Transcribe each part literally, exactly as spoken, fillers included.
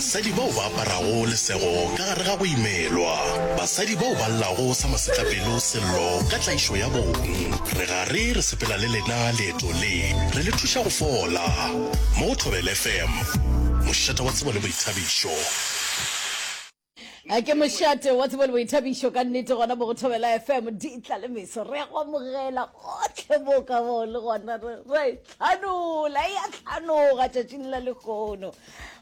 Basadi bao ba aparago lesego ka gare ga go imelwa. Basadi bao ba llago sa masetlapelo sello ka tlaišo ya bong. Re gare re sepela le lena leeto le, re le thuša go fola. Mo go Thobela F M, mošate wa tsebo le boithabišo. A ke mošate wa tsebo le boithabišo ka nnete gona mo go Thobela F M, di tla le meso. Re a go amogela gotlhe mo ka mo le gona re re tlhanola e a tlhanoga tšatšing la lehono.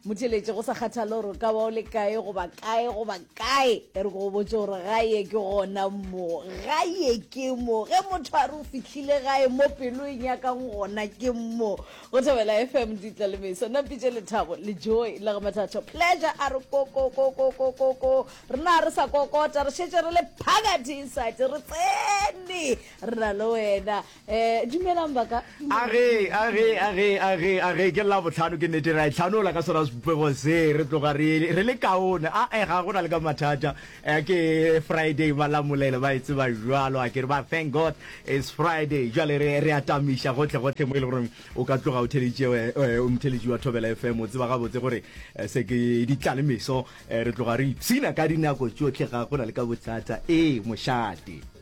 Motheletše, go sa kgathale gore o ka ba o le kae goba kae goba kae, e re ko go botse gore gae ke gona mo, gae ke mo. Ge motho a re o fihlile gae, mo pelo e nyakang gona ke mo go Thobela F M, ditla le meso. Nna mpitše Lethabo le Joy la ga Mathatho Pleasure. A re kokokokokoko, rena re sa kokota, re šetše re le phakathi inside, re tsene re na le wena. um dumelang baka. Age, age, age, age, age, ke la botlhano, ke nnete ra e tlhanola ka sona sebopego se, re tloga re re le kaone. A e ga gona le ka mathata. Eh, ke Friday, malamolele ba e tseba jwalo, a ke re ba thank God it's Friday. Jwale re re atamiša gotlhe gotlhe mo e le gore o ka tloga o theletše, eh, o motheletši wa Thobela F M, o tseba gabotse gore eh, se ke ditla le meso. eh, re tloga re ipshina ka dinako tšotlhe, ga gona le ka bothata. Ee, mošate.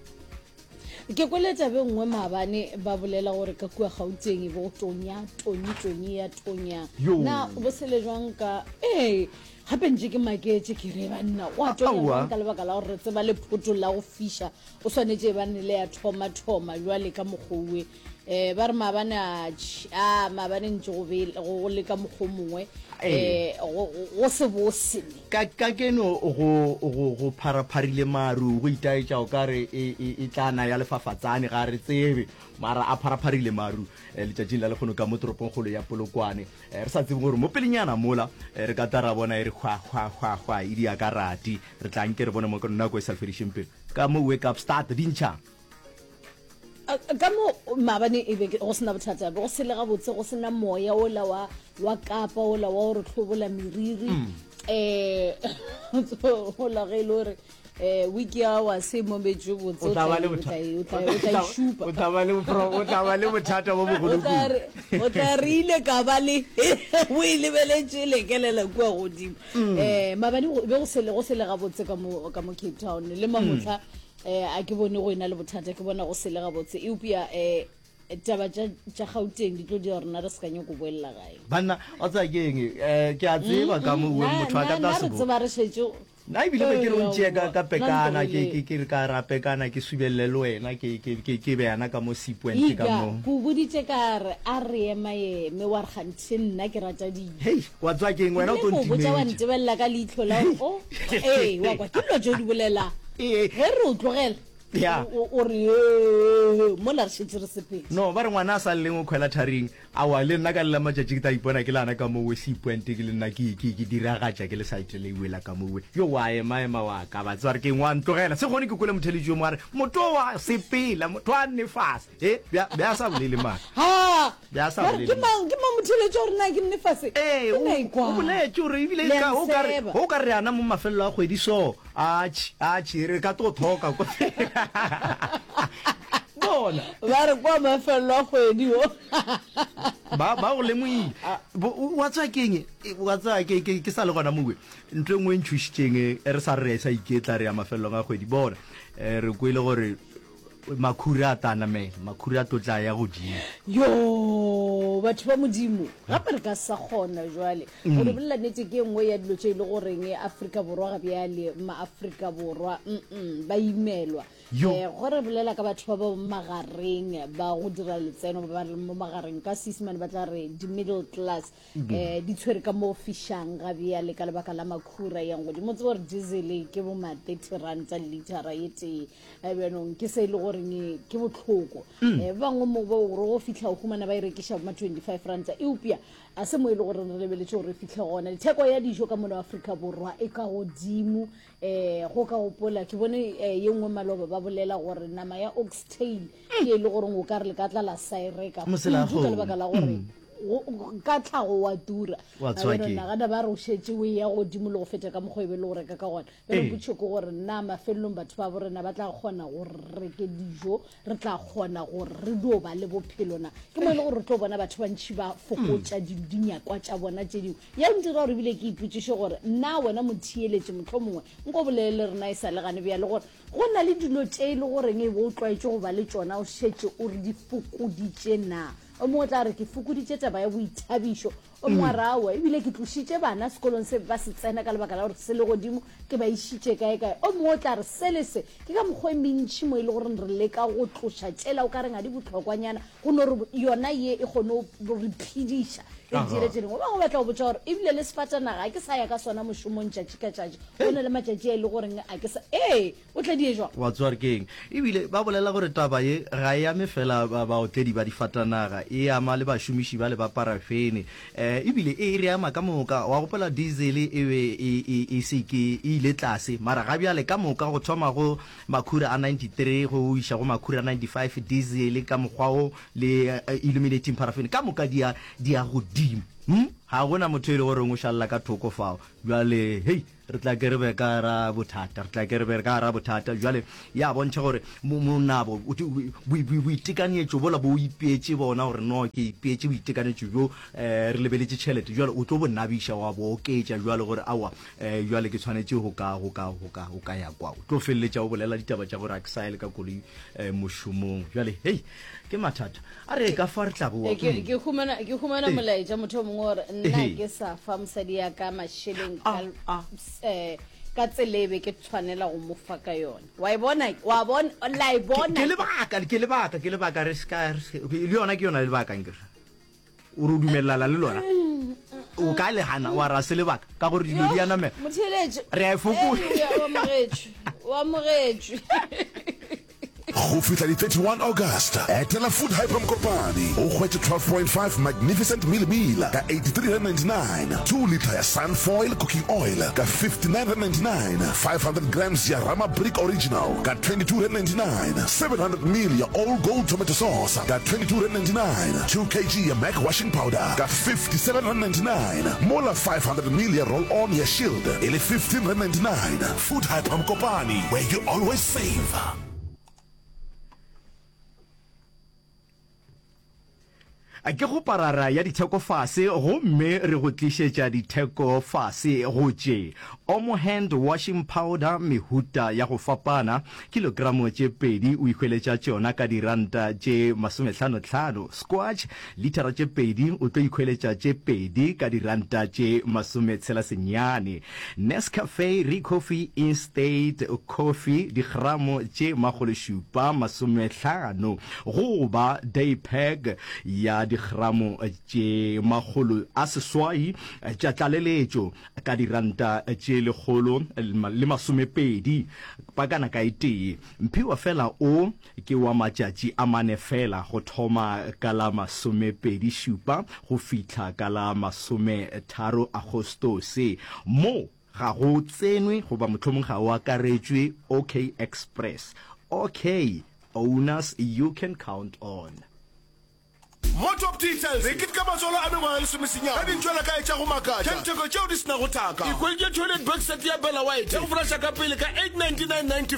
Ke kwele tabe nngwe maabane, ba bolela gore ka kua Gauteng e be go tonya, tonyi tonyi ya tonya. Yo. Na bo sele jwang ka ee gape ntše ke maketše, ke re banna go a tonya Aowa. jwang, ka lebaka la gore re tseba lephoto la go fiša o swanetše e bane le ya thoma-thoma jwale ka mokgowe. um ba re maabane a tš- a maabane ntše go be go go le ka mokgwa o mongwe, Ee. um go go se bose ne. Ka ka keno go go go pharapharile maru, go itaetša o ka re e e e tla na ya lefafatsane, ga re tsebe, mara a pharapharile maru eh, letšatšing la lekgono ka mo toropongkgolo ya Polokwane. Eh, re sa tsebe gore mo pelenyana mola eh, re ka tla ra bona e re hwa hwa hwa hwa e dia ka rati. Re tla nke re bone mo nako e sa fedišeng pelo ka mo wake up start di ntšha. A- ka mo maabane e be ke- go sena bothata, be go sele gabotse, go sena moya ola wa wa Kapa ola wa gore hlobola meriri, um ola ge e le gore um wiki ya wa se mometse botse, o tla ba le o botha- tla e- o tla e- o tla e šupa. O tla ba le pro- o tla ba le bothata bo O bogolo tla kudu. re- o tla re ile ka ba le o e lebeletše lekelela kua godimo. um maabane go- be go sele go sele gabotse ka mo ka mo Cape Town le mamotlha. um a ke bone go ena le bothata, ke bona go sele gabotse, eupša um taba tša tša Gauteng di tlo dira rena re se ka nyako boelela gae. Banna, wa tseba ke eng? um ke a tseba ka mo Mm, motho a ka na tla re se bo tseba re šetše. Nna ebile be ke re o ntšee ka ka pekana, ke Nna ke ke re ka ra pekana, ke subelele le wena, ke ke ke ke beyana ka mo Sea Point ka Ika mo. Ko boditše ka re a re ema eme, wa re ganthe nna ke rata dijo. Hei, wa tseba ke eng, wena o tlo Ebile ko botša wa ntimetša. ntebelela ka leitlho la gore o ee, wa kwa ke dilo tše o di bolelang. Ee. Ge re o tlogela, Ya. o o re ee, mola re šetše re sepetse. No ba re ngwana a sa lleng o khwela tharing. Aowa, le nna ka le la matšatši ke tla ipona ke le ana ka mowe Sea Point, ke le nna ke ke ke diragatša ke le side le iwe la ka mowe. Yo, wa ema ema wa ka ba tseba re ke eng, wa ntlogela. Se kgone ke kwele motheletši yo mongwe a re motho wa sepela, motho a nne fase. E bja bja sa bolele mara. Ha! Bja sa Ba re, bolele ke mang ke mang motheletši wa rena ke nne fase? Ee, Ke o na ikwa. o boletše gore ebile Le a ka o ka re nseba. o ka re ana mo mafelelo a kgwedi so. Atšhi, atšhi, re ka tlo thoka ko. Bona. Ba re kwa mafelelo a kgwedi o. Ba ba go lemohile. Bo- o- wa tseba ke eng? E, wa tseba ke ke ke sa le gona mowe. Ntho e nngwe e ntšhošitšeng, e re sa re re sa iketla re ya mafelelong a kgwedi. Bona, eh, re kwele gore makhura a tla namela, makhura a tlo tla ya godimo. Yo, batho ba Modimo, gape re ka sa kgona jwale go di bolela nnete. Ke e nngwe ya dilo tše e le goreng Afrika Borwa ga bjale, maAfrika Borwa mm ba imelwa. Yo. um go re bolela ka batho ba ba mo magareng, ba go dira letseno, ba ba leng mo magareng, ka Seesemane ba tla re di-middle class, um di tshwere ka mo fišang ga bjale ka lebaka la makhura yang godimo. Tseba gore diesel ke bo ma thirty ranta litera ye tee. Eh, bjanong ke se e le goreng ke botlhoko. um ba bangwe mo ba gore go fitlha o humana ba e rekiša bo ma twenty-five ranta, eupša a se mo e le gore re lebeletse gore re fitlhe gona. Theko ya dijo ka mono Afrika Borwa e ka godimo. um go ka gopola ke bone eh, ye nngwe maloba ba bolela gore nama ya oxtail ke e le goreng o ka re le ka tla la sa e reka Mosela kudu ka lebaka la gore go- ka tlhago wa tura. Wa tswa ke. Nagana ba re o šetše o eya godimo le go feta ka mokgwa e be le go reka ka gona. Bjale Ee. potšo ke gore na mafelelong batho ba borena ba tla kgona gore re reke dijo, re tla kgona gore re dio ba le bophelo na? Ke mo e le gore re tlo bona batho bantšhi ba fokotša di- dinyakwa tša bona tše dingwe. Ya ntira gore ebile ke ipotšiše gore na wena motheeletše mohlomongwe nko bolele le rena e sa le gane bjale gore go na le dilo tše e le goreng e be o tlwaetše go ba le tšona o šetše o re di fokoditše na? O mongwe o tla re ke fokoditše taba ya boithabišo, o mongwe a re aowa ebile ke tlošitše bana sekolong se ba se tsena ka lebaka la gore se le godimo ke ba išitše kae kae. O mongwe o tla re se le se ke ka mokgwa e mentšhi mo e le gore re leka go tloša tšela o ka reng ga di bohlokwanyana go no re yona ye e kgone go re phediša re Aha. dire tše dingwe. Ba bangwe ba tla go botša gore ebile le sefatanaga ga ke sa ya ka sona mošomong tšatši ka tšatši, go na le matšatši a e le goreng a ke sa ee o tla die jwang. Wa tseba gore ke eng? Ebile ba bolela gore taba ye ga e ame fela ba baotledi ba difatanaga, e ama le bašomiši ba le ba parafene, um ebile e re ama ka moka. Wa gopola diesel e be e, e, e se ke e ile tlase, mara ga bjale ka moka go thoma go makhura a ninety-three go iša go makhura a ninety-five, diesel ka mokgwa o le eh, illuminating paraffin ka moka di ya di ya godimo. Hmm? Ga gona motho e le goreng o šalela ka thoko fao. Bjale hei, re tla ke re be ka ra bothata, re tla ke re be ka ra bothata. Bjale ya bontšha gore mo- monabo o- bo- bo- boitekanetšo bola bo o ipeetše bona gore no ke ipeetše boitekanetšo bjo, um re lebeletše tšhelete, jwale o tlo bo nabiša wa bo oketša jwale gore aowa, um jwale ke tshwanetše go ka go ka go ka go ka ya kwa. O tlo feleletša o bolela ditaba tša gore a ke sa ye le ka koloi um mošomong. Jwale hei, ke mathata a re ka fa re tla boa. Eh, ke ke humana ke humana Ee. molaetša motho o mongwe gore nna Ee. ke sa fa mosadi ya ka mašeleng ka Ah, ah. eh, ka tselebe ke tshwanela go mo fa ka yona. Wa e bona, wa bona, la e bona. Ke lebaka, ke lebaka, ke lebaka re ska re se- le yona ke yona lebaka nkere o re o dumelelana le lona, o ka le gana wa ra se lebaka ka gore dilo di a namela. Motheeletše Re a e fokola. Eh, o amogetšwe, o amogetšwe. Go fihla di thirty-one August, etela Food Hyper Mokopane o hwetše twelve point five magnificent meal ka eighty-three ninety-nine, two liter ya Sunfoil cooking oil ka fifty-nine ninety-nine, five hundred grams ya Rama Brick Original ka twenty-two ninety-nine, seven hundred mil ya All Gold tomato sauce ka twenty-two ninety-nine, two kilograms ya Mac washing powder ka fifty-seven ninety-nine, mola five hundred mil ya roll on ya Shield e le fifteen ninety-nine. Food Hyper Mokopane, where you always save. Ke go parara ya ditheko fase gomme re go tlišetša ditheko fase go tše Omo hand washing powder mehuta ya go fapana, kilogramo tše pedi o ikhweletša tšona ka diranta tše masomehlanohlano, squash litara tše pedi o tlo ikhweletša tše pedi ka diranta tše masometshela senyane, Nescafe Recoffee Instant Coffee digramo tše makgolo šupa masomehlano goba day pack ya digramo tše makgolo a seswai tša tlaleletšo ka diranta tše lekgolo le masomepedi pakana ka e tee. Mphiwa fela o ke wa matšatši a mane fela go thoma ka la masomepedi šupa go fihla ka la masometharo Agostose. Mo ga go tsenwe goba mohlomong ga o akaretšwe OK Express. OK owners you can count on. Mo Top Details re keteka matswalo a mengwaga lesomesenyane ka dintšwela ka etša go makatša tša ditheko tšeo di se nago thaka. Ikhweditše toilet box set ya Bella White ya go flasha ka pele ka eight ninety-nine ninety.